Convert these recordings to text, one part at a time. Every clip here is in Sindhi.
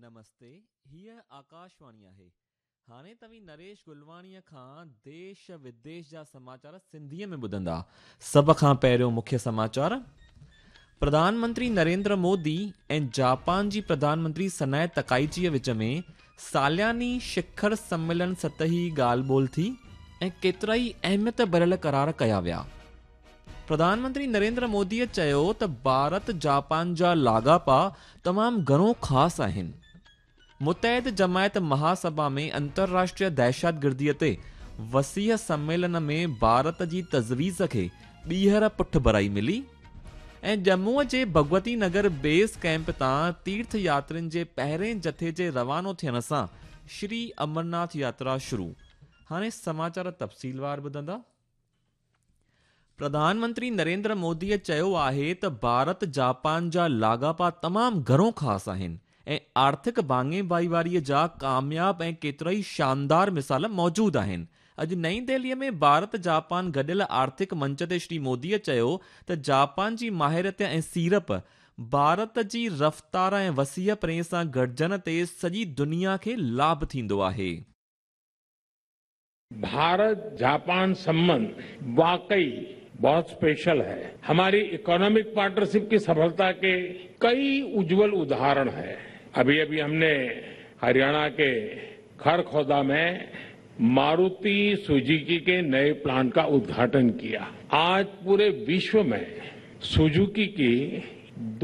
نمستي، هيء آڪاشواڻي آهي. هاڻي توهين نريش گلواڻيء کان ديش وديش جا سماچار سنڌيء ۾ ٻڌندا. سڀ کان پهريون مکيه سماچار، پرڌان منتري نريندر مودي ۽ جاپان جي پرڌان منتري سنائي تڪائيچيء وچ ۾ سالياني شکر سميلن سطحي ڳالهه ٻولهه ٿي ۽ ڪيترائي اهميت ڀريل قرار ڪيا ويا. پرڌان منتري نريندر موديء چيو ته ڀارت جاپان جا لاڳاپا تمام گهڻو خاص آهن. متحد جماعت مهاسڀا ۾ انترراشٽريه دهشتگرديء تي وسيع سميلن ۾ ڀارت جي تجويز کي ٻيهر پٺڀرائي ملي ۽ ڄمونء جي ڀڳوتي نگر بيس ڪئمپ تان تيرٿ ياترين جي پهرين جٿي جي روانو ٿيڻ سان شري امرناٿ ياترا شروع. هاڻي سماچار تفصيلوار ٻڌندا. پرڌان منتري نريندر موديء چيو آهي ته ڀارت جاپان جا لاڳاپا تمام گهڻو خاص آهن ۽ آرٿڪ ڀاڱي ڀائيواريء جا ڪامياب ۽ ڪيترائي شاندار مثال موجود آهن. اڄ نئين دهليء ۾ ڀارت جاپان گڏيل آرٿڪ منچ تي شري موديء چيو ته جاپان جي ماهريت ۽ سيڙپ ڀارت جي رفتار ۽ وسيع پرين سان گڏجڻ تي سڄي دنيا کي لاڀ ٿيندو آهي. भारत जापान संबंध वाकई बहुत स्पेशल है। हमारी इकोनॉमिक पार्टनरशिप की सफलता के कई उज्जवल उदाहरण हैं। अभी अभी हमने हरियाणा के खरखौदा में मारुति सुजुकी के नए प्लांट का उद्घाटन किया। आज पूरे विश्व में सुजुकी की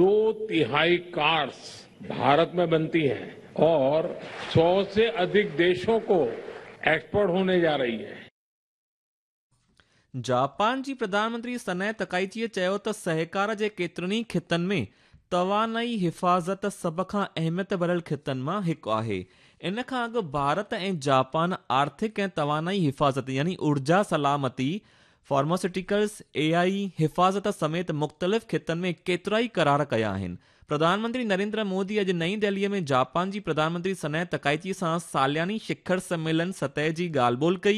दो तिहाई कार्स भारत में बनती हैं और 100 से अधिक देशों को एक्सपोर्ट होने जा रही है। جاپان جي پرڌان منتري سنائي تڪائيچيء چيو ته سهڪار جي ڪيترن ئي خطن ۾ توانائي حفاظت سڀ کان اهميت ڀريل خطن مان هڪ آهي. ان کان اڳ ڀارت ۽ جاپان آرٿڪ ۽ توانائي حفاظت يعني اورجا سلامتي، فارماسيوٽيڪلز، اي آء، حفاظت سميت مختلف خطن ۾ ڪيترائي قرار ڪيا آهن. پرڌان منتري نريندر مودي اڄ نئين دهليء ۾ جاپان جي پرڌان منتري سنائي تڪائيچي سان سالياني شکر سميلن سطح جي ڳالهه ٻولهه ڪئي.